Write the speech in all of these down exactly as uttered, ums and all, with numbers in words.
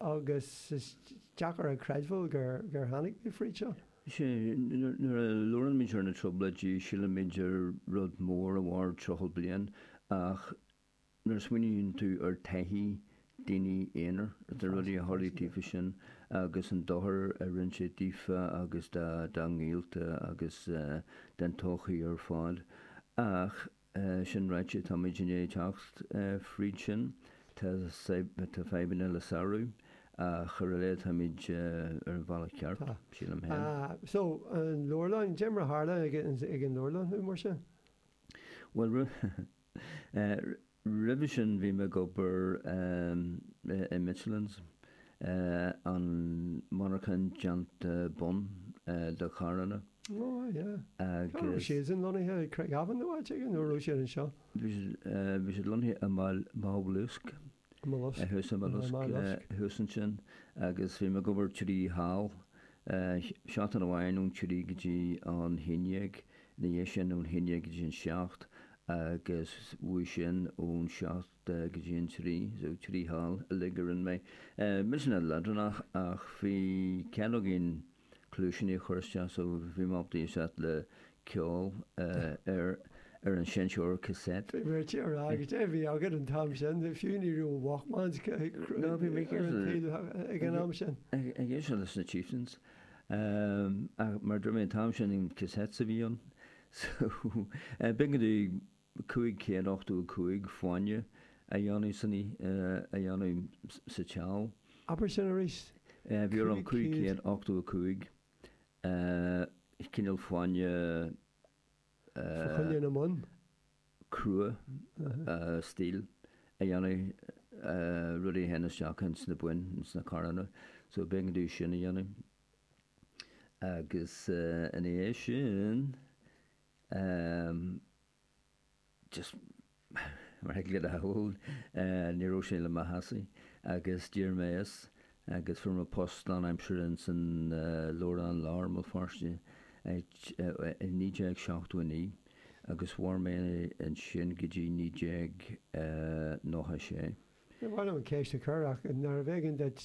agus is deacair a chreidbheáil gur gur tháinig mé fríd seo. Sé, nuair a labhraímid ar na Trioblóidí, sílimid ar rud mór a mhair tríocha bliain, ach nuair a smaoiníonn tú ar taithí daoine aonair, na rudaí a tharlaigh daofa sin agus an dochar a rinne sé daofa agus dá ngaolta agus den tsochaí ar fad. Ach sin ráite, táimid i ndiaidh teacht fríd sin, tá tá fadhbanna le sárú, ach ar a laghad táimid ar an bhealach ceart, sílim féin. So, an leabharlann, cad é mar a tharla ag ag an leabharlann thú mar sin? Bhuel, roimhe sin bhí mé ag obair i Michelin's, an monarchan déanta bonn do charranna. Oh, yeah. Cá raibh siadsan lonnaithe? I Craigavon nó áit éigin nó raibh siad anseo? Bhí siad bhí siad lonnaithe i Magh Luasc. Luasc. Thuas i Magh Luasc, thuas ansin agus bhí mé ag obair trí sheal, seachtain amháin ón trí go dtí an haon dhéag, ina dhiaidh sin ón haon déag go dtí an seacht agus uaidh sin ón seacht go dtí an trí, so trí sheal uilig a rinne mé. Millteanach leadránach ach bhí cead againn cluaisíní a chur isteach so bhí mé ábalta éisteacht le ceol ar ar an seinnteoir cassette. Bhí mé ag rá cad é a bhí agat an t-am sin, fiú ní raibh Walkmans No, bhí mé ar an tsaol ag an am sin. Ag éisteacht leis na Chieftains. Ach mar a dúirt mé an t-am sin cassettes a bhí ann so b'éigean domh cúig chéad ochtó a cúig fáinne a dhéanamh san a dhéanamh sa tseal. Abair sin arís. Bhí orm cúig chéad ochtó a cúig cineál fáinne Fá choinne na mbonn? crua steel a dhéanamh, rudaí a théann isteach ins na boinn, ins na carranna. So b'éigean domh sin a dhéanamh. Agus ina dhiaidh sin, just mar a thig leat a shamhlú, ní raibh sé le mo shásamh agus d'éirigh mé as agus fuair mé post lánaimseartha ins an Leabharlann Láir i mBéal Feirste i naoi déag seachtó a naoi agus mhair mé ansin go dtí naoi déag nócha a sé. Ní mhaith liom an ceist a chur ach nárbh éigean duit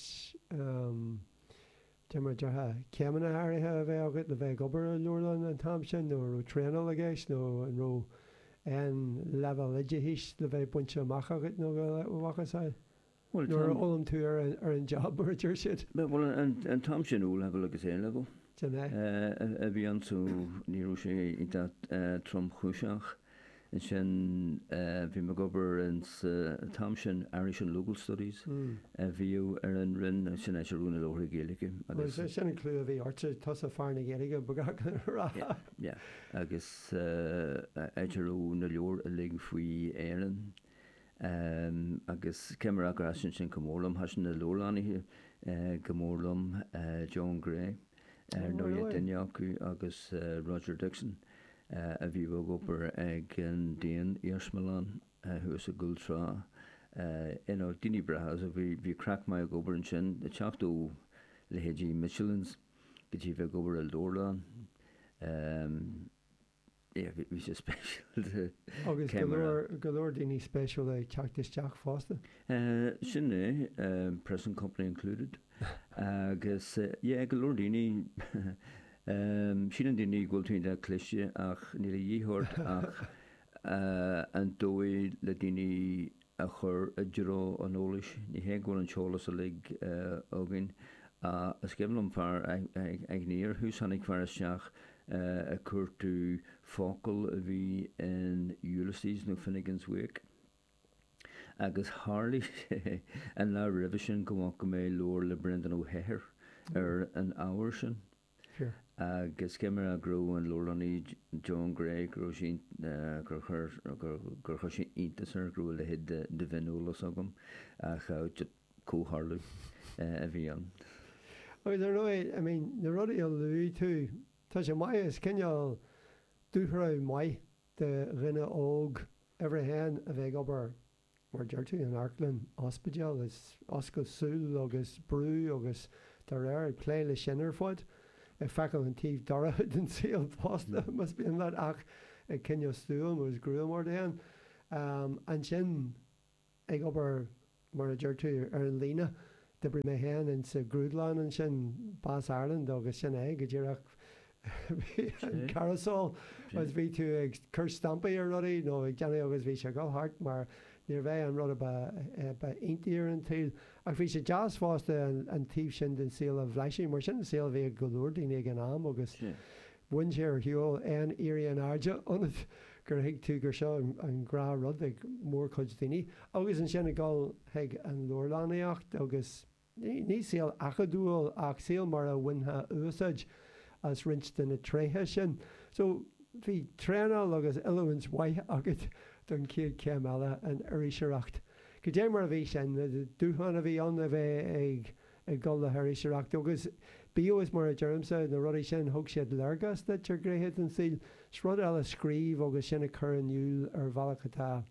Dé mar a déarfá, céimeanna áirithe a bheith agat le bheith ag obair i leabharlann an t-am sin, nó an raibh traenáil i gceist, nó an raibh aon leibhéal oideachais le bheith bainte amach agat nó a mhacasamhail? Bhuel, Nuair a fhoghlaim tú ar an, ar an job, mar a deir siad. Bhuel, an t-am sin O-level agus A-level Sin é. a bhí ann so ní raibh sé iontach tromchúiseach. Ansin bhí mé ag obair ins an t-am sin Irish and Local Studies a bhíodh ar an Roinn, sin áit a raibh na leabharthaí Gaeilge agus. Bhuel, sin an clú a bhí ortsa, tusa fear na Gaeilge, ba ghá a rá. Yeah, yeah. Agus áit a raibh na leabhair uilig faoi Éirinn. Agus cé mar gur thaitin sin go mór liom, thaitin na leabharlannaithe go mór liom, John Gray ar ndóigh duine acu agus Roger Dixon. a bhíodh ag obair ag an Daon-Iarsmalann thuas i gCúl Trá. You know, daoine breátha, so bhí, bhí craic maith ag obair ansin, ag teacht ó leithéidí Michelin's go dtí bheith ag obair i leabharlann. Yeah, bhí, bhí sé speisialta. Agus go leor, go leor daoine spéisiúla ag teacht isteach fosta. Sin é, present company included. Agus yeah, go leor daoine, síleann daoine go bhfuil tú iontach cliste ach níl a dhíth ort ach an dóigh le daoine a chur i dtreo an eolais. Ní hé go bhfuil an t-eolas uilig againn. Is cuimhin liom fear, aithní ar thús, tháinig fear isteach ag cuartú focal a bhí in Ulysses nó Finnegans Wake. Agus tharlaigh sé an lá roimhe sin go bhfaca mé leabhar le Breandán Ó hEithir ar an ábhar sin. Agus cé mar go raibh an leabharlannaí John Gray, go raibh sé, gur chuir, gur chuir sé iontas air go raibh a leithéid de mhioneolas agam, ach comhtharlú a bhí ann. Agus ar ndóigh, I mean, na rudaí a luaigh tú, tá sé maith, is cineál dúshraith maith do dhuine óg uimhir a haon a bheith ag obair, mar a deir tú, in amharclann, ospidéal, is oscailt súl agus brú agus dá réir, ag plé leis sin ar fad, ag feiceáil an taobh dorcha den saol fosta, más mian leat, ach ag coinneáil stuaim agus gruaim ort féin. Ansin ag obair, mar a deir tú, ar an líne D'oibrigh mé féin insa ghrúdlann ansin, Bas Ireland agus sin é go díreach bhí an carousel agus bhí tú ag cur stampaí ar rudaí nó ag déanamh agus bhí sé ag dul thart mar níorbh é an rud a ba ba iontaí ar an tsaol. Ach bhí sé deas fosta an taobh sin den saol a bhlaiseadh mar sin an saol a bhí ag go leor daoine ag an am agus bhain sé ar shiúl aon éirí in airde ionat gur thuig tú gur seo an gnáthrud ag mórchuid daoine. Agus ansin ag dul chuig an leabharlannaíocht agus ní saol acadúil ach saol mar a bhainfeá úsáid as roinnt de na tréithe sin. So bhí traenáil agus oiliúint mhaith agat don chéad chéim eile, an iriseoireacht. Cad é mar a bhí sin, na dúshláin a bhí ann a bheith ag ag dul le hiriseoireacht agus bíodh is mar a deirimse, na rudaí sin, thug siad léargas duit ar ghnéithe den saol. Is rud eile scríobh agus sin a chur in iúl ar bhealach atá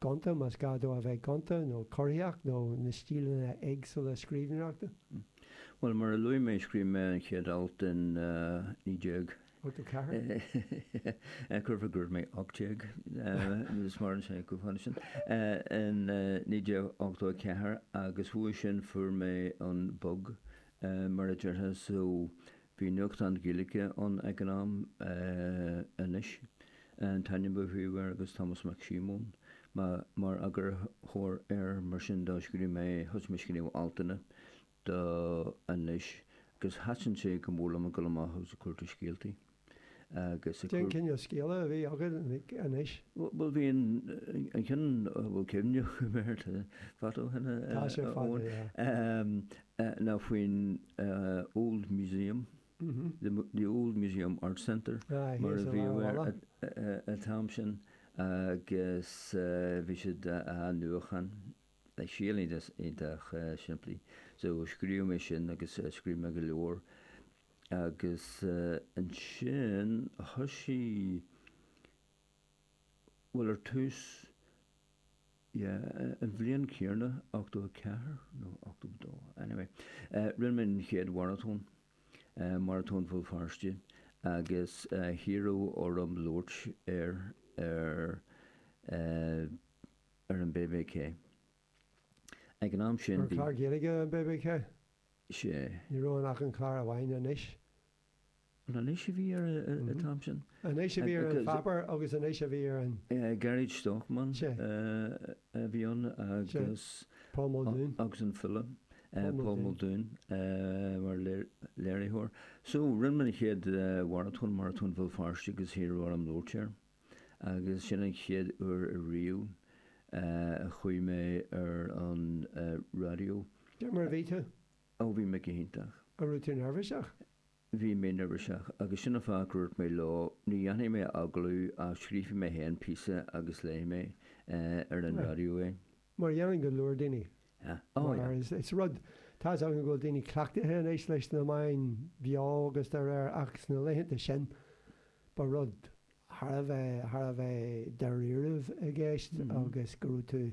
gonta, más gá dó a bheith gonta, nó corraitheach, nó na stíleanna éagsúla scríbhneoireachta. Bhuel, mar a luaigh mé, scríobh mé an chéad alt in naoi déag. ochtó ceathair. Curfá go raibh mé ocht déag, is maireann sé chomh fada sin, in naoi déag ochtó a ceathair agus uaidh sin fuair mé an bug, mar a déarfá, so bhí nuachtán Gaeilge ann ag an am, Anois an t-ainm a bhí air agus Tomás Mac Síomóin mar eagarthóir air, mar sin do scríobh mé, thosaigh mé ag scríobh altanna do Anois agus thaitin sé go mór liom ag dul amach agus ag cuartú scéaltaí agus ag Cén cineál scéala a bhí agat anois? Bhuel bhí an an ceann a bhfuil cuimhne agam air, tá fada ó shin Tá sé fada, yeah. ná faoin Old Museum, the Old Museum Arts Centre mar a bhí air an t-am sin agus bhí siad á athnuachan. Scéal iontach simplí. So scríobh mé sin agus scríobh mé go leor agus ansin thosaigh, bhuel ar tús, yeah, an bhliain chéanna, ochtó a ceathair nó ochtó a dó, anyway, rinne mé an chéad mharatón, Maratón Bhéal Feirste agus hiarradh orm labhairt air ar ar an B B K. Ag an am sin Ar bhí. chlár Gaeilge an B B K? Sea. Ní raibh ann ach an clár amháin, Anois. An Anois a bhí air an t-am sin? Anois a bhí ar an pháipéar agus Anois a bhí ar an. Gearóid Stockman Sea. a bhí ann Sea. agus. Paul Muldoon. Agus an file Paul Paul Muldoon. Muldoon mar léiritheoir. So rinne mé an chéad mharatón, Maratón Bhéal Feirste agus hiarradh orm labhairt air. Agus sin an chéad uair ariamh a chuaigh mé ar an raidió. Cad é mar a bhí tú? Ó bhí mé go hiontach. An raibh tú neirbhíseach? Bhí mé neirbhíseach agus sin an fáth gur dhúirt mé leo, ní dhéanfaidh mé agallamh ach scríobhfaidh mé féin píosa agus léifidh mé ar an raidió é. Mar a dhéanann go leor daoine. Oh yeah. Mar is is rud, tá 'fhios agam go bhfuil daoine cleachtaithe anois leis na meáin bheo agus dá réir ach sna laethanta sin ba rud thar a bheith, thar a bheith dáiríribh i gceist agus go raibh tú,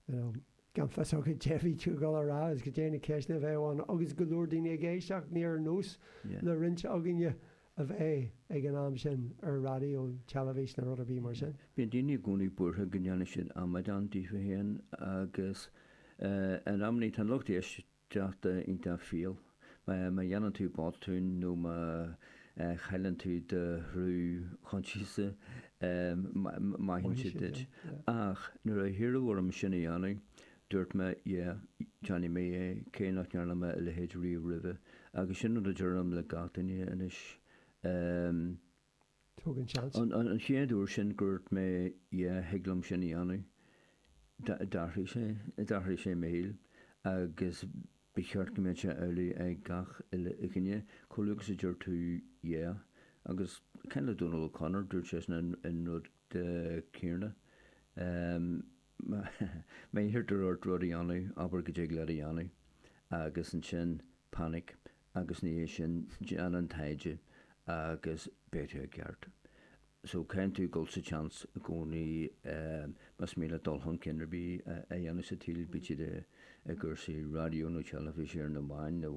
you know, gan fios agat cad é a bhí tú ag dul a rá agus cad é na ceisteanna a bheadh ann agus go leor daoine ag éisteacht, ní ar nós le roinnt againne a bheith ag an am sin ar raidió, teilifís nó rud ar bith mar sin. Bíonn daoine i gcónaí buartha go ndéanfaidh siad amadán díofa féin agus in amannaí tá an lucht éisteachta iontach fial. Má dhéanann tú botún nó má chailleann tú do shruth choinsiasa, maitheann siad duit. Ach nuair a hiarradh orm sin a dhéanamh, dúirt mé yeah, déanfaidh mé é, cé nach ndearna mé a leithéid riamh roimhe. Agus sin rud a deirim le gach duine anois. Tóg an seans. An chéad uair sin gur dhúirt mé yeah, thig liom sin a dhéanamh, d'athraigh sé, d'athraigh sé mo shaol agus ba cheart go mbeadh sé amhlaidh ag gach uile dhuine, chomh luath agus a deir tú yeah. Agus kind of Donal O'Connor, dúirt seisean an rud céanna. Má iarrtar ort rud a dhéanamh, abair go dtig leat a dhéanamh agus ansin panic agus ina dhiaidh sin déan an taighde agus beidh tú i gceart. So caithfidh tú dul sa tseans i gcónaí más mian leat dul chun cinn ar bith a dhéanamh sa tsaol, bíodh siad i gcúrsaí raidió nó teilifíse ar na meáin nó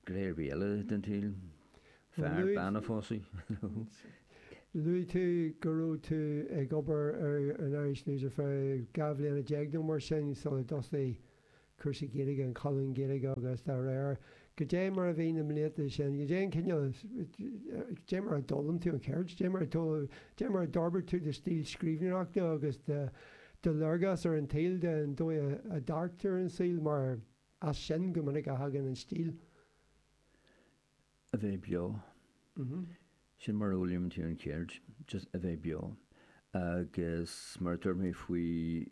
gné ar bith eile den tsaol, fear, bean a phósadh. Luaigh tú go raibh tú ag obair ar an Irish News ar feadh dhá bhliana déag nó mar sin sula dtosaigh cúrsaí Gaeilge, an colún Gaeilge agus dá réir. Goidé mar a bhí na blianta sin, goidé an cineál, goidé mar a d'fhoghlaim tú an cheird, goidé mar a goidé mar a d'fhorbair tú do stíl scríbhneoireachta agus do do léargas ar an tsaol, den dóigh a dearc tú ar an saol, mar as sin go minic a thagann an stíl. A bheith beo. Sin mar a fhoghlaimíonn tú an cheird, just a bheith beo. Agus mar a dúirt mé faoi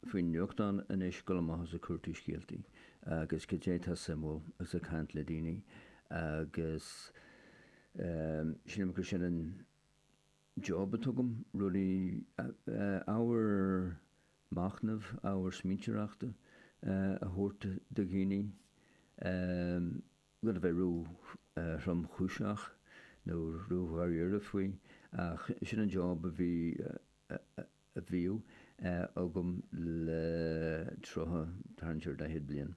faoin nuachtán anois, dul amach agus ag cuartú scéaltaí agus goidé atá suimiúil agus ag caint le daoine agus sílim gur sin an job atá agam, rudaí, ábhar machnaimh, ábhar smaointeoireachta a thabhairt do dhaoine, gan a bheith ró-thromchúiseach nó ró-dháiríre faoi ach sin an job a bhí a bhíodh agam le tríocha, tarraingt ar daichead bliain.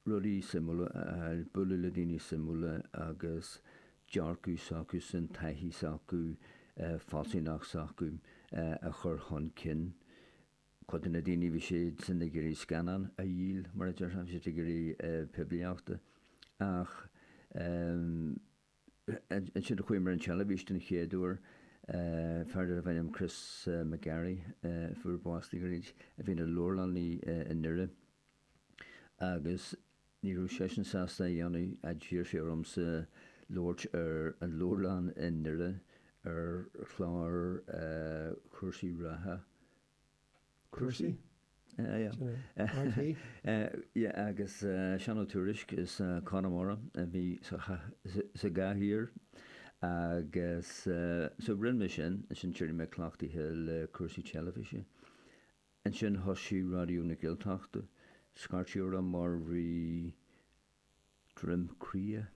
Rudaí suimiúla a fháil, bualadh le daoine suimiúla agus dearcadh s'acusan, taithí s'acu, fealsúnacht s'acu a chur chun cinn. Cuid de na daoine, bhí siadsan ag iarraidh scannán a dhíol, mar a déarfá, bhí siad ag iarraidh poiblíochta ach ansin a chuaigh mé ar an teilifís den chéad uair, fear darbh ainm Chris McGarry, a fuair bás le gairid, a bhí ina leabharlannaí i nDoire agus ní raibh seisean sásta a dhéanamh, d'iarr sé ormsa labhairt ar an leabharlann i nDoire ar chlár cúrsaí reatha. Cúrsaí? R T Yeah, agus Seán Ó Tuairisg as Conamara a bhí sa gcathaoir agus so rinne mé sin, ansin d'éirigh mé cleachtaithe le cúrsaí teilifíse. Ansin thosaigh Raidió na Gaeltachta, scairt orm mar bhí Droim Cria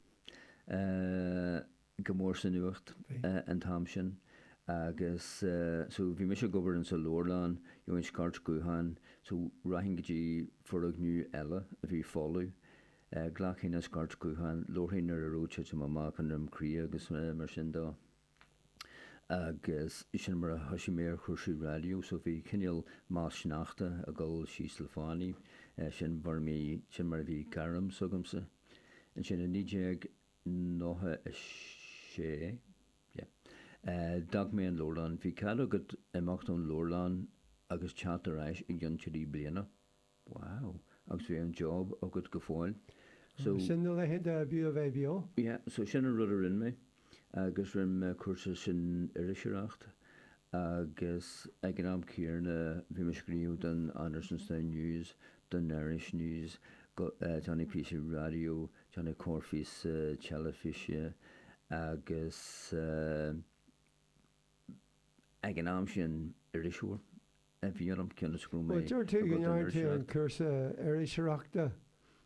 go mór sa nuacht an t-am sin agus so bhí mise ag obair insa leabharlann, gheobhainn scairt gutháin, so rachainn go dtí foirgneamh eile a bhí folamh, ghlacfainn an scairt gutháin, labharfainn ar a raibh titim amach i nDroim Cria agus mar sin dó. Agus sin mar a thosaigh mé ar chúrsaí raidió, so bhí cineál más sneachta ag dul síos le fánaí, sin mar bhí, sin mar a bhí gairm s'agamsa. Ansin i naoi déag nócha a sé, yeah, d'fhág mé an leabharlann. Bhí cead agat imeacht ón leabharlann agus teacht ar ais i gcionn trí bliana. Wow! Agus bhí an job agat go fóill. So, Sin na laethanta ab fhiú a bheith beo. Yeah, so sin an rud a rinne mé agus rinne mé cúrsa san iriseoireacht agus ag an am céanna bhí mé ag scríobh don Andersonstown News, don Irish News, déanamh píosaí raidió, déanamh corrphíosa teilifíse agus ag an am sin iriseoir a bhí ionam cionn is go raibh mé Bhuel, deir tú go ndearna tú an cúrsa iriseoireachta.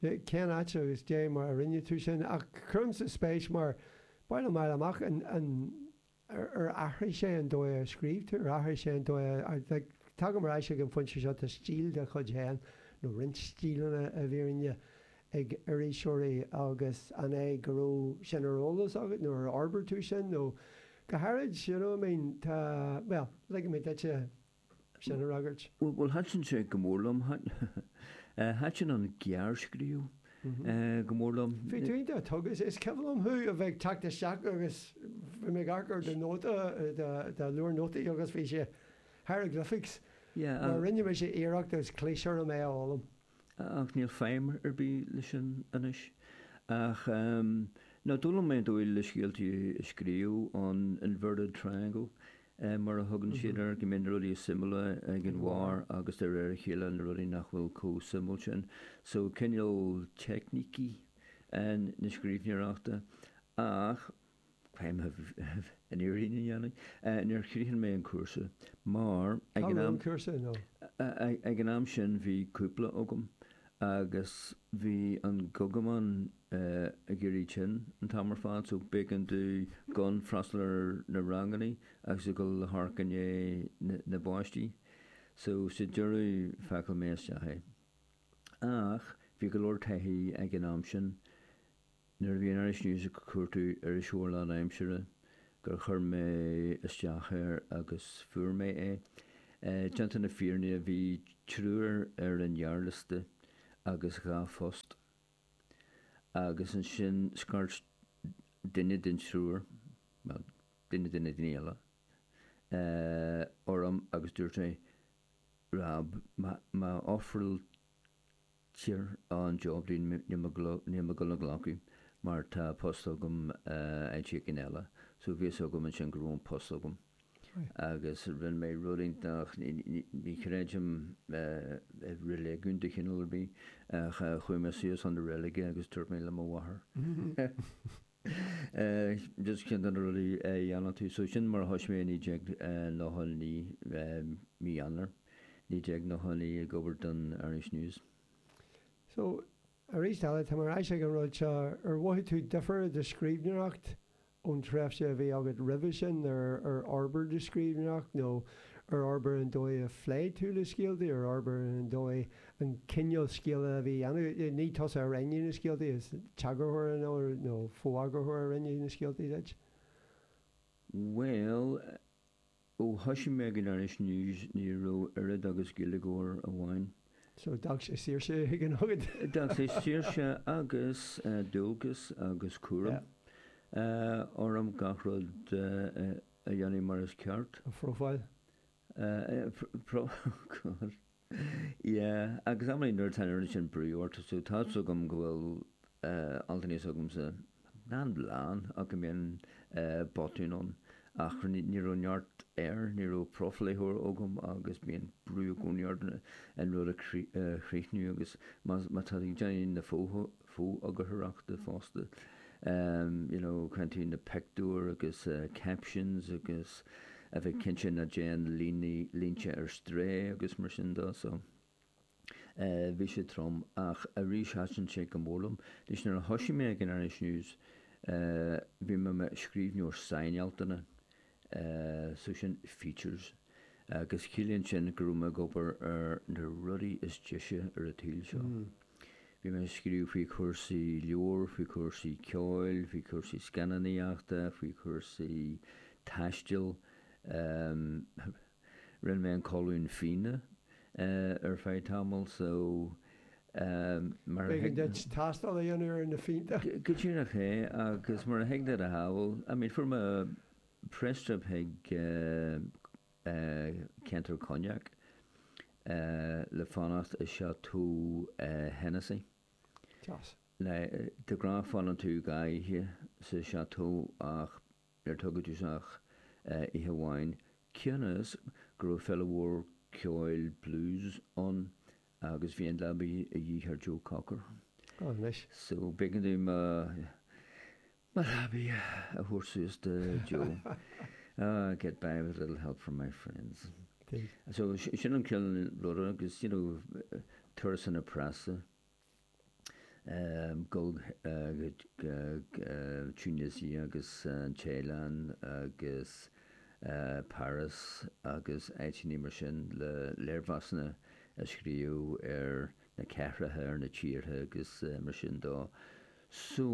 Cén áit agus dé mar a rinne tú sin? Ach cuirimse spéis mar ba mhaith liom a fháil amach an an ar athraigh sé an dóigh a scríobh tú, ar athraigh sé an dóigh a like tagaim ar ais ag an phointe seo, tá stíl dá chuid féin nó roinnt stíleanna i bhfírinne ag iriseoirí agus an é go raibh sin ar eolas agat nó ar fhorbair tú sin nó go háirid, you know I mean, tá, bhuel, ligfidh mé duitse sin a fhreagairt. Bhuel, thaitin sé go mór liom. Thaitin an gearrscríobh go mór liom. Bhí tú iontach tugtha, is cuimhin liom thú a bheith ag teacht isteach agus bhí mé ag amharc ar do nóta, do leabhar nótaí agus bhí sé hieroglyphics. Mar rinne mise iarracht agus chlis orm é a fhoghlaim. Ach níl feidhm ar bith leis sin anois. Ach no, d'fhoghlaim mé an dóigh le scéaltaí a scríobh, an inverted triangle mar a thugann siad air, go mbíonn na rudaí is suimiúla ag an bharr agus de réir a chéile na rudaí nach bhfuil chomh suimiúil sin. So cineál teicnící na scríbhneoireachta ach caithfidh an fhírinne a dhéanamh. Níor chríochnaigh mé an cúrsa mar ag Cá an raibh am an cúrsa nó? Ag an am sin bhí cúpla agam agus bhí an gugamán ag éirí tinn an t-am ar fad so b'éigean domh gan freastal ar na ranganna agus a dhul a amharc i ndiaidh na bpáistí. So sa deireadh phacáil mé isteach é. Ach bhí go leor taithí ag an am sin nuair a bhí an Irish News ag cuartú iriseoir lánaimseartha gur chuir mé isteach air agus fuair mé é. Déanta na fírinne bhí triúr ar an ghearrliosta agus dhá phost. Agus ansin scairt duine den triúr, bhuel, duine de na daoine eile, orm agus dúirt sé, Rob, má ofráiltear an job dúinn níl mé ag dul a ghlacadh mar tá post agam áit éigin eile. So bhí fhios agam ansin go raibh an post agam. Agus rinne mé rud iontach, ní chreidim i reiligiún de chineál ar bith, ach chuaigh mé suas chun na reilige agus dúirt mé le mo mháthair. Just ceann de na rudaí a dhéanann tú. So sin mar a thosaigh mé i naoi déag nócha a naoi, mí Eanáir naoi déag nócha a naoi ag obair don Irish News. So, arís eile, tá mé ar ais ag an rud seo, ar mhothaigh tú difear i do scríbhneoireacht ón tréimhse a bhí agat roimhe sin, ar ar fhorbair do scríbhneoireacht nó ar fhorbair an dóigh a phléigh tú le scéaltaí, ar fhorbair an dóigh, an cineál scéala a bhí á dhéanamh, ní tusa a rinne na scéaltaí, is t-eagarthóir nó nó fo-eagarthóir a rinne na scéaltaí duit? Bhuel, ó thosaigh mé ag an Irish News ní raibh oiread agus Gaeilgeoir amháin. So d'fhág sé saoirse éigin agat. D'fhág sé saoirse agus dualgas agus cúram orm gach rud a dhéanamh mar is ceart. A phróifáil. Pro, God. Yeah, agus amannaí nuair atá an oiread sin brú ort, so tá fhios agam go bhfuil altanna s'agamsa nach lán ach go mbíonn botúin ann ach ní raibh neart air, ní raibh profléitheoir agam agus bíonn brú i gcónaí ort an rud a chríochnú agus má tá tú ag déanamh na fo-eagarthóireachta fosta, you know, cuireann tú na pictiúir agus captions agus a bheith cinnte nach dtéann línte ar strae agus mar sin de so. Bhí sé trom ach arís thaitin sé go mór liom. Anois nuair a thosaigh mé ag an Irish News bhí mé i mo scríbhneoir sainaltanna, so sin features, agus ciallaíonn sin go raibh mé ag obair ar na rudaí is deise ar an tsaol seo. Bhí mé ag scríobh faoi chúrsaí leabhar, faoi chúrsaí ceoil, faoi chúrsaí scannánaíochta, faoi chúrsaí taistil. Rinne mé an colún fíona ar feadh tamaill so mar a B'éigean duit tástáil a dhéanamh ar na fíonta. Go díreach é agus mar a thig leat a shamhlú, I mean fuair mé press trip chuig ceantar Cognac le fanacht i Chateau Hennessy. Deas. Now de ghnáth fanann tú dhá oíche sa chateau ach níor tugadh tú ach oíche amháin cionn is go raibh féile mhór ceoil blues ann agus bhí an leabaidh a dhíth ar Joe Cocker. Oh, anois. So b'éigean dom mo mo leabaidh a thabhairt suas do Joe. Ah, get by with a little help from my friends. Indeed. So sin an cineál ruda agus, you know, turasanna preasa. Dul go Tunisia agus an Téalainn agus Paris agus áiteanna mar sin le léirmheasanna a scríobh ar na cathracha, ar na tíortha agus mar sin dó. So,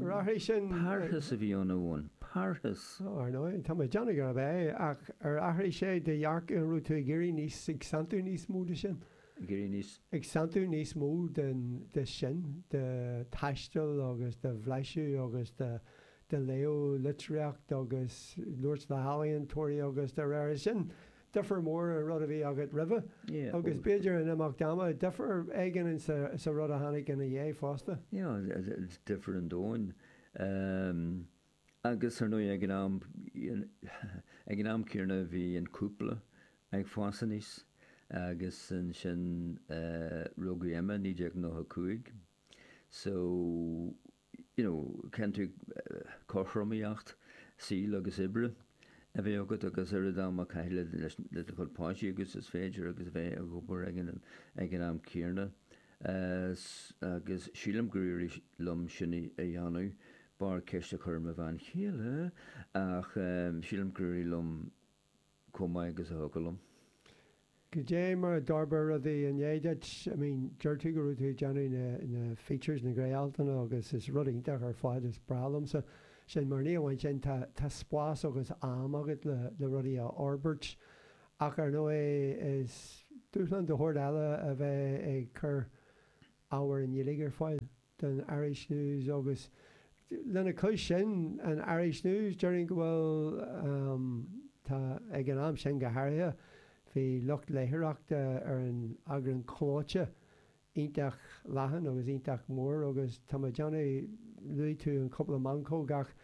Ar athraigh sin. Parthas a bhí ann a Eoin, parthas! Ó, ar ndóigh, tá mé ag déanamh gurb é, ach ar athraigh sé do dhearcadh, an raibh tú ag iarraidh níos, ag santú níos mó de sin? Ag iarraidh níos. Ag santú níos mó den, de sin, de thaisteal agus de bhlaiseadh agus de, de léamh litríocht agus labhairt le healaíontóirí agus dá réir sin, difear mór an rud a bhí agat roimhe Yeah, agus b'fhéidir in imeacht ama, difear éigin in sa, sa rud a tháinig ina dhiaidh fosta. Yeah, difear an domhain. Um, agus ar ndóigh ag an am, ag an am céanna bhí an cúpla ag fás aníos agus ansin uh, rugadh Emma naoi déag nócha cúig. So, you know, caithfidh tú cothromaíocht saoil agus oibre a bheith agat agus oiread ama a chaitheamh leis le do chuid páistí agus is féidir agus a bheith ag obair ag an ag an am céanna. Agus sílim gur éirigh liom sin a dhéanamh, b'fhearr ceist a chur ar mo bhean chéile, ach sílim gur éirigh liom chomh maith agus a thiocfadh liom. Goidé mar a d'fhorbair rudaí i ndiaidh duit? I mean, deir tú go raibh tú ag déanamh na, na features, na gnáthaltanna agus is rud iontach ar fad, is breá liomsa sin mar ní amháin sin, tá, tá spás agus am agat le, le rudaí a fhorbairt ach ar ndóigh is Dúshlán de shórt eile a bheith ag cur ábhar i nGaeilge ar fáil don Irish News agus lena chois sin an Irish News, déarfainn go bhfuil tá ag an am sin go háirithe bhí lucht léitheoireachta ar an eagrán clóite iontach leathan agus iontach mór agus tá mé ag déanamh luaigh tú an cúpla meancóg ach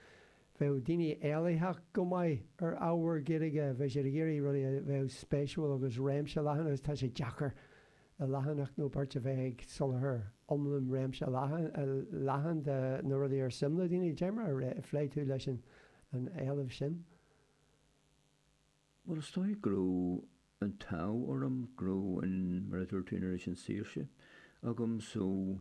bheadh daoine éilitheach go maith ar ábhar Gaeilge, bheadh siad ag iarraidh rudaí a bheadh spéisiúil agus réimse leathan agus tá sé deacair i leathanach nó beirt a bheith ag soláthar iomlán réimse leathan leathan de na rudaí ar suim le daoine. Cad é mar a phléigh tú leis an an éileamh sin? Bhuel is dóigh go raibh an t-ádh orm go raibh an mar a dúirt tú an oiread sin saoirse agam so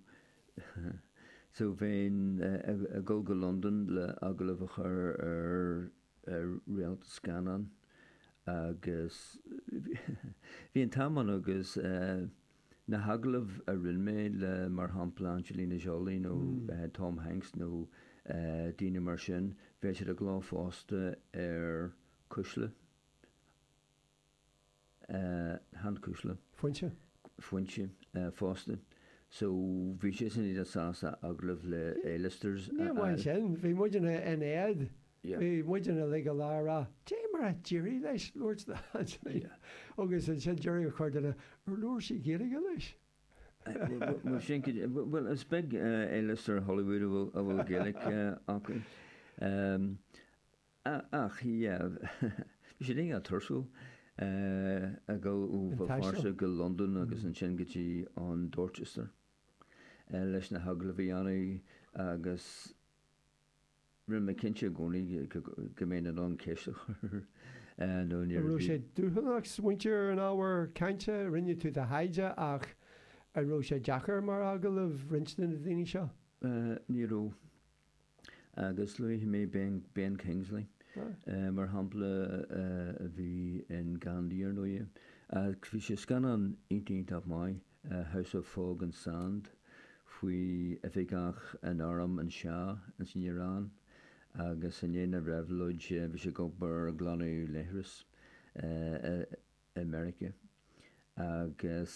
so bheinn ag dul go Londain le agallamh a chur ar ar réalta scannán agus bhí an t-am ann agus na hagallaimh a rinne mé le mar shampla Angelina Jolie nó Tom Hanks nó daoine mar sin, bheadh siad i gcló fosta ar Cuisle. Chan Cuisle. Foinse. Foinse fosta. So bhí sé sin iad sásta agallamh le A-listers Ní amháin sin, bhí muidne in éad. Bhí muidne uilig go léir ag rá, Cad é mar a d'éirigh leis labhairt le Angelina? Agus ansin deireadh a chuir duine, Ar labhair sí Gaeilge leis? Bhuel sin, bhuel is beag A-lister Hollywood a bhfuil a bhfuil Gaeilge acu. Ach yeah, bhí sé iontach tuirsiúil ag dul ó An Bhéal taisteal. Feirste go Londain agus ansin go dtí an Dorchester leis na hagallaimh a dhéanamh agus rinne mé cinnte i gcónaí go mbeinn in ann ceist a chur nó ní An raibh raibh sé dúshlánach smaointiú ar an ábhar cainte? Rinne tú do thaighde ach an raibh sé deacair mar agallamh roinnt de na daoine seo? Ní raibh. Agus luaigh mé Ben, Ben Kingsley mar shampla a bhí in Gandhi ar ndóigh. Bhí sé scannán iontach iontach maith, House of Fog and Sand, faoi oifigeach in arm an Shah ins an Iaráin agus i ndiaidh na réabhlóide bhí sé ag obair ag glanadh leithreas i Meiriceá agus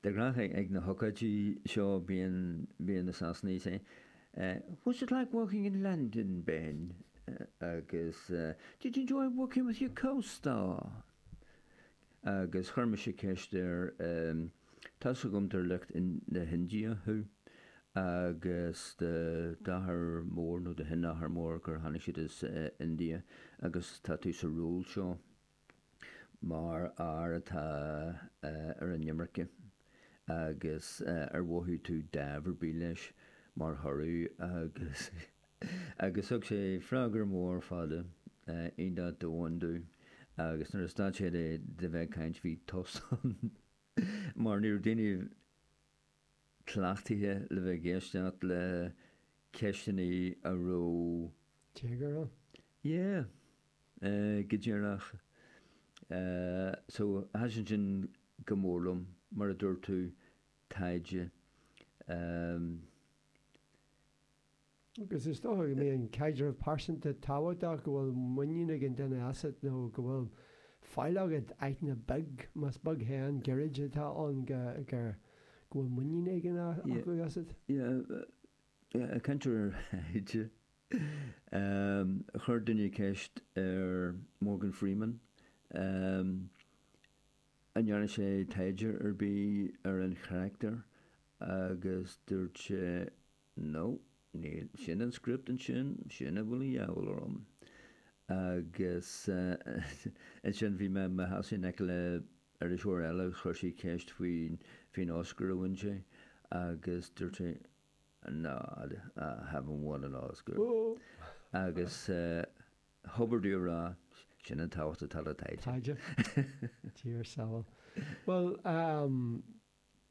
De ghnáth ag na hócáidí seo bíonn bíonn na Sasanaigh ag say What's it like working in London, Ben? agus Did you enjoy working with your co-star? Agus chuir mise ceist air Tá's agam gur lucht na hIndia thú agus do d'athair mór nó do shin-athair mór gur tháinig siad as India agus tá tú sa ról seo mar fhear atá ar an imirce agus ar mhothaigh tú dáimh ar bith leis mar thoradh agus agus thug sé freagra mór fada iontach domhain domh agus nuair a stad sé de de bheith ag caint bhí tost ann mar ní raibh daoine cleachtaithe le bheith ag éisteacht le ceisteanna a raibh Téagar ann. Yeah. Go díreach. So, thaitin sin go mór liom, mar a dúirt tú, taighde. Agus is dócha go mbíonn caidreamh pearsanta tábhachtach, go bhfuil muinín ag an duine asat nó go bhfuil fáil agat, aithne beag, más beag féin, gairid atá ann, go go bhfuil muinín éigin acu asat. Yeah, ag caint ar thaighde, chuir duine ceist ar Morgan Freeman an ndearna sé taighde ar bith ar an charachtar agus dúirt sé No, níl, sin an script ansin, sin a bhfuil a dhíobháil orm. Agus ansin bhí mé i mo sheasamh in aice le iriseoir eile agus chuir sí ceist faoin faoin Oscar a bhain sé agus dúirt sé No, I haven't won an Oscar. Agus thobair dú a rá, sin an tábhacht atá le taighde. Taighde. Dia ár sábháil. Bhuel,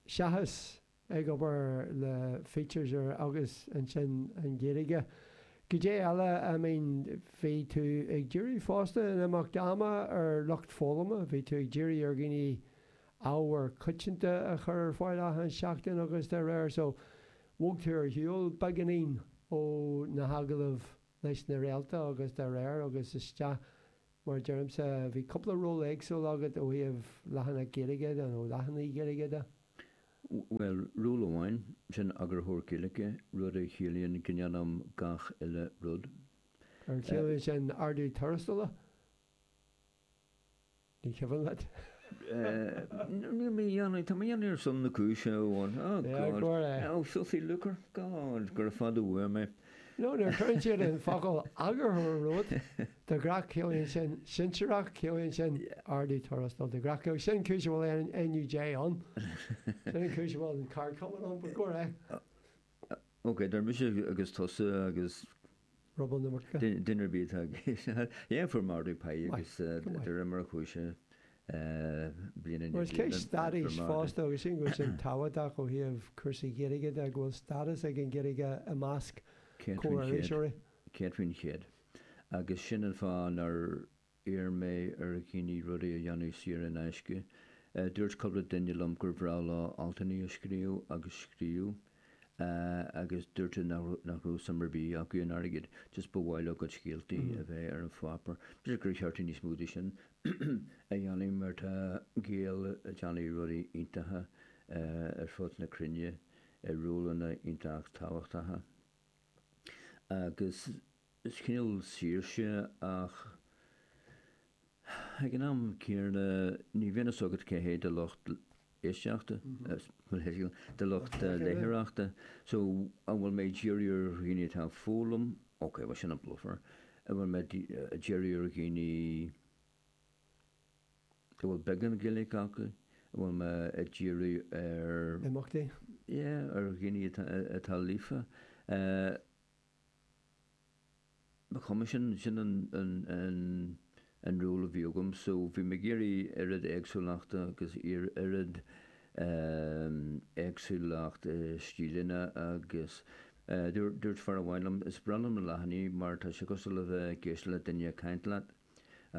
seachas ag obair le features ar agus ansin an Ghaeilge, goidé eile, I mean, bhí tú ag díriú fosta in imeacht ama ar lucht foghlama, bhí tú ag díriú ar dhaoine ábhar coitianta a chur ar fáil achan seachtain agus dá réir so bhog tú ar shiúl beagáinín ó na hagallaimh leis na réalta agus dá réir agus isteach Mar deirimse, bhí cúpla ról éagsúil agat ó thaobh leathanach Gaeilge de nó leathanaigh Ghaeilge de. Bhuel, ról amháin, sin eagarthóir Gaeilge, rud a chiallaíonn go ndéanaim gach uile rud. Ar chiallaíonn sin ardú tuarastail? Ní cuimhin leat? Níl mé a dhéanamh, tá mé a dhéanamh ar son na cúise amháin. Oh Yeah, God. go raibh. Oh, filthy lucre. God, gura fada uaim é. No, nuair a chuireann siad an focal eagarthóir romhat, de ghnáth ciallaíonn sin sinsearach, ciallaíonn sin ardú tuarastail. De ghnáth, sin cúis a bhfuil N U J ann. Sin an cúis a bhfuil an ceardchumann ann, but go raibh. Ok, dar mise agus tusa agus Ruball na muice. duine ar bith atá ag Yeah, fuair mé ardú pá Maith, agus go maith. de réir mar a chuaigh sé bliain i Mar is ndiaidh ceist bliana, stádais fuair mé ardú. fosta agus sin go bhfuil sin tábhachtach ó thaobh cúrsaí Gaeilge de, go bhfuil stádas ag an Ghaeilge i measc Céad faoin chéad. comhiriseoirí. Céad faoin chéad. Agus sin an fáth nár iarr mé ar dhaoine rudaí a dhéanamh saor in aisce. Dúirt cúpla duine liom gur bhreá leo altanna a scríobh agus scríobh agus dúirt siad nach raibh suim ar bith acu in airgead, just ba mhaith leo a gcuid scéaltaí a bheith ar an pháipéar. B'fhéidir gur cheart níos mó de sin a dhéanamh mar tá Gaeil ag déanamh rudaí iontacha ar fud na cruinne i rólanna iontach tábhachtacha. Agus is cineál saoirse ach ag an am céanna ní bhíonn a fhios agat cé hé do lucht éisteachta, do lucht léitheoireachta. So an bhfuil mé ag díriú ar dhaoine atá ag foghlaim, ok, well sin an bluffer, an bhfuil mé ag díriú ar dhaoine a bhfuil beagán Gaeilge acu, an bhfuil mé ag díriú ar Imeachtaí? Yeah, ar dhaoine atá atá líofa. Ba chuma sin sin an an an an ról a bhí agam so bhí mé ag iarraidh oiread éagsúlachta agus oiread éagsúlacht stíleanna agus dúirt dúirt fear amháin liom is breá liom na leathanaigh mar tá sé cosúil le bheith ag éisteacht le duine ag caint leat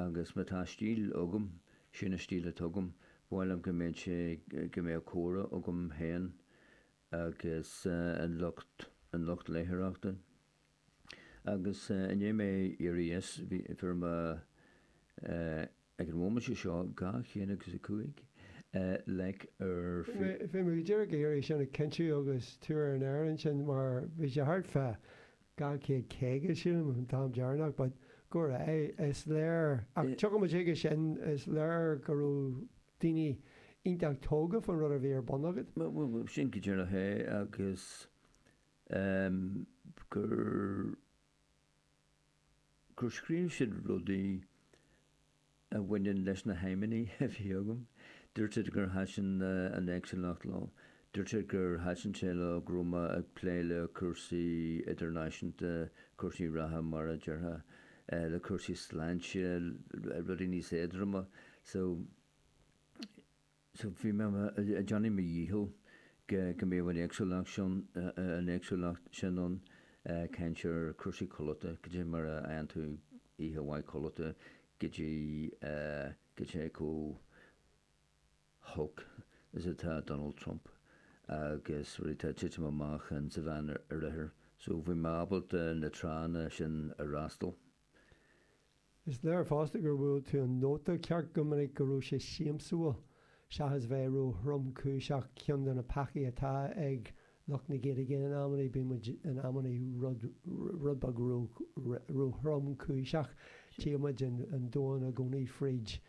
agus má tá stíl agam sin an stíl atá agam, ba mhaith liom go mbeadh sé go mbeadh comhrá agam féin agus an lucht an lucht léitheoireachta. Agus i ndiaidh mé éirí as bhí fuair mé ag an bhomaite seo dhá chéad agus a cúig like ar Bhí mé go díreach ag iarraidh sin a chinntiú agus tú ar an aer ansin mar bhí sé thart fá dhá chéad caoga sílim an t-am deireanach but go raibh is léir ach tiocfaidh muid chuige sin is léir go raibh daoine iontach tógtha faoin rud a bhí ar bun agat. Bhuel sin go díreach é agus gur gur scríobh siad rudaí a bhaineann leis na haidhmeanna a bhí agam. Dúirt siad gur thaitin an éagsúlacht leo. Dúirt siad gur thaitin sé leo go raibh mé ag plé le cúrsaí idirnáisiúnta, cúrsaí reatha mar a déarfá, le cúrsaí sláinte, rudaí níos éadroime. So so bhí mé ag déanamh mo dhícheall go go mbeadh an éagsúlacht sin an éagsúlacht sin ann, caint ar cúrsaí codlata, cad é mar a fhaigheann tú oíche mhaith codlata go dtí go dtí chomh holc is atá Donald Trump agus rudaí atá ag titim amach in sa Mheánoirthear. So bhí mé ábalta na tránna sin a fhreastal. Is léir fosta gur bhuail tú an nóta ceart go minic go raibh sé siamsúil seachas bheith ró-thromchúiseach ceann de na peacaí atá ag lucht na Gaeilge in amannaí bíonn muid in amannaí rud rud beag ró-thromchúiseach tchí muid an domhan i gcónaí fríd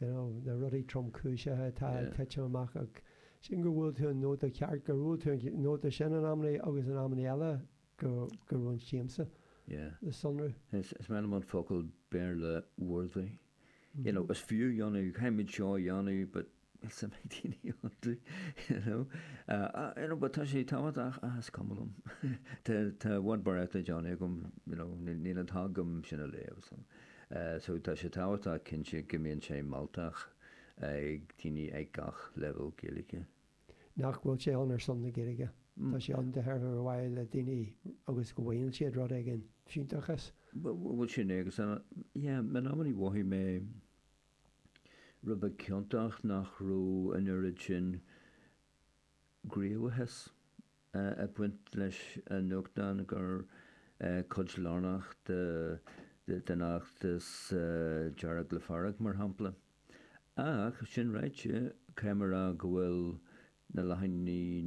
you know, na rudaí tromchúiseacha atá ag titim amach ach sin gur bhuail tú an nóta ceart gur bhuail tú an nóta sin in amannaí agus in amannaí eile go go raibh an siamsa le sonrú. Is is maith liom an focal Béarla "worthy". You know, is fiú dhéanamh caithfimid seo a dhéanamh, but níl suim ag daoine iontu, you know. Uh, you know, but tá sé tábhachtach ach is cuma liom. Tá tá i bhfad barraíocht le déanamh agam, you know, níl an t-am agam sin a léamh. So, uh, so tá sé tábhachtach cinnte go mbíonn sé mealltach ag daoine ag gach leibhéal Gaeilge. Nach bhfuil sé ann ar son na Gaeilge. Tá sé ann de thairbhe ar mhaithe le daoine agus go bhfaigheann siad rud éigin fiúntach as. Bhfuil sin é agus yeah, in amannaí mhothaigh mé rud beag ciontach nach raibh an oiread sin gníomhachais ag baint leis an nuachtán gur cuid lárnach de den fheachtas Dearg le Fearg mar shampla. Ach sin ráite, caithfidh mé a rá go bhfuil na leathaní